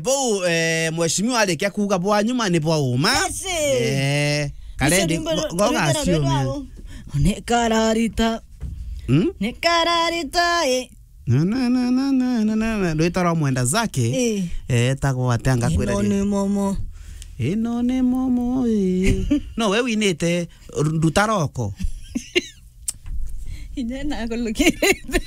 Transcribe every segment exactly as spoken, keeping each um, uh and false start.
Bau, eh, mheshimiwa arikia kuuga bwa nyuma ni bwa uma. Yes, eh. Eh, karendi, rwimbo go-, goga rwimbo rwa ciumia. Ni kararita. Hmm? Ni kararita, eh. Na, na, na. Rwita rwa mwenda zake. Eh. Eh, tagwo atia ngakwira ri? Ino ni momo. Ino ni momo, eh. No, we winite nduta roko. Inya nakulukirite.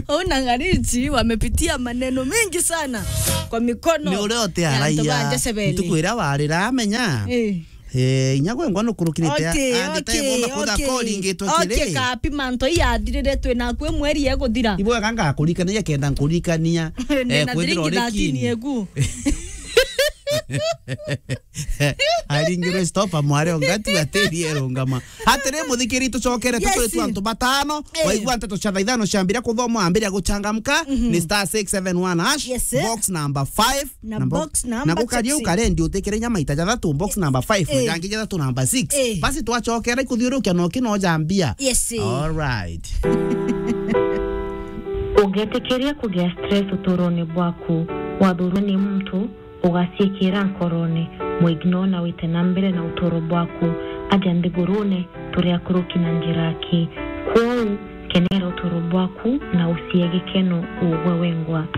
Au na Ngarichi wamepitia maneno mengi sana kwa mikono. Ni uria uti ya antu ba araia. Jezebeli. Ntuku iria warira amenya. Eh. Eh, inya gwe ngwa nukurukirite. Okay, andite okay, ibonda kutha okay. Koringitwe okay, kiri. Kapi manto iyathirire twi naku mweri eguthira. Ibwega ngakurikania kenda nkurikania. Eh, kwithira uri thirteen kin. Eku. Aringirwe stop amware ongati atiri erungama. Atiri muthikiri tucokere. Yes. Tukuri tu antu batano. Eh. Waigua nteto cia thaa ithano ciambire kuthomwa, ambire guchangamka. Mhm. Ni star six seven one hash. Yes, sir. Box number five. Na na bo-, box number na gukaria six. Ukarendi utikire inya maita jathatu, box number five, eh. Na jangi jathatu number six. Eh. Basi twacokera ikuthiurukia no kino jambia. Yes, eh. All right. Ungetikiria kugia stress uturone bwaku, wathurwa ni muntu, ugaciikira nkorone, mwignore na wite na mbere na uturo bwaku. Aja nthigurune, turi akuruki na njira aki. Kwou, kenera uturo bwaku na ucie gikeno ugwe wengwa.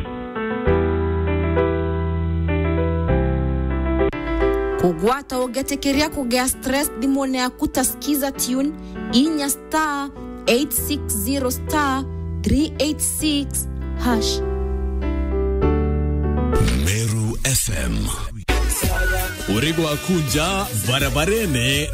Kugwata ugetikiria kugia stress thimune yaku ta Skiza Tune, inya star eight six zero star three eight six hash. Meru F M. Uri gwaku nja barabarene